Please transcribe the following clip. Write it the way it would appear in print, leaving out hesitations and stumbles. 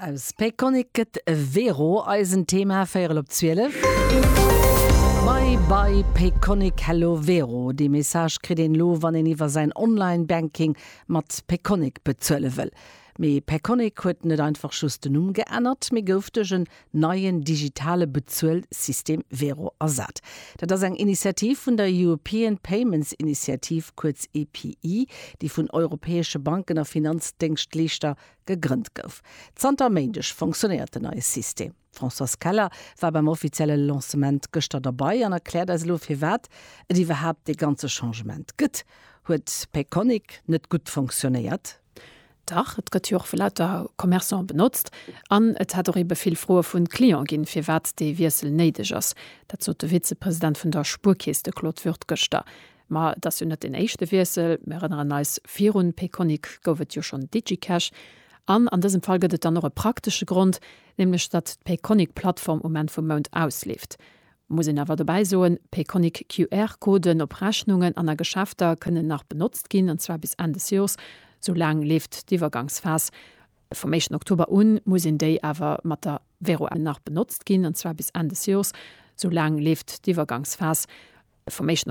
Aus Payconiq gëtt Wero eisen Thema, véierel op 12. Bye bye Payconiq, hello Wero. Dee Message kritt een elo, wann een iwwer säin Online-Banking mat Payconiq bezuele wëll. Mee Payconiq huet net einfach just den Numm geännert, mee gouf duerch en neien digitale Bezuelsystem Wero ersat. Dat ass eng Initiativ vun der European Payments Initiative, kuerz EPI, déi vun europäesche Banken a Finanzdéngschtleeschter gegrënnt gouf. Zanter e Méindeg fonctionnéiert den neie System. D'Françoise Keller war beim offizielle Lancement gëschter derbei an erkläert eis elo firwat et iwwerhaapt dee ganze Changement gëtt. Huet Payconiq net gutt fonctionnéiert? Dach, et gëtt jo och vu lauter Commerçante benotzt. An et hätt och ebe vill Froe vu Cliente ginn, firwat dee Wiessel néideg ass. Dat sot de Vizepresident vun der Spuerkeess, de Claude Wirth, gëschter. Ma et ass jo net deen éischte Wiessel. Mir erënneren eis, Virun Payconiq gouf et jo schonn DigiCash. An an dësem Fall gëtt et dann och e praktesche Grond, nämlech datt d'Payconiq-Plattform um Enn vum Mount ausleeft. Muss een awer dobäi soen, Payconiq QR-Coden op Rechnungen an a Geschäfter kënnen nach benotzt ginn, an zwar bis Enn des Jors. Sou laang leeft d'Iwwergangsphas. Vum éischten Oktober un muss een déi awer mat der Wero nach benotzt ginn, an zwar bis Enn des Jors. Sou laang leeft d'Iwwergangsphas. Vum éischten.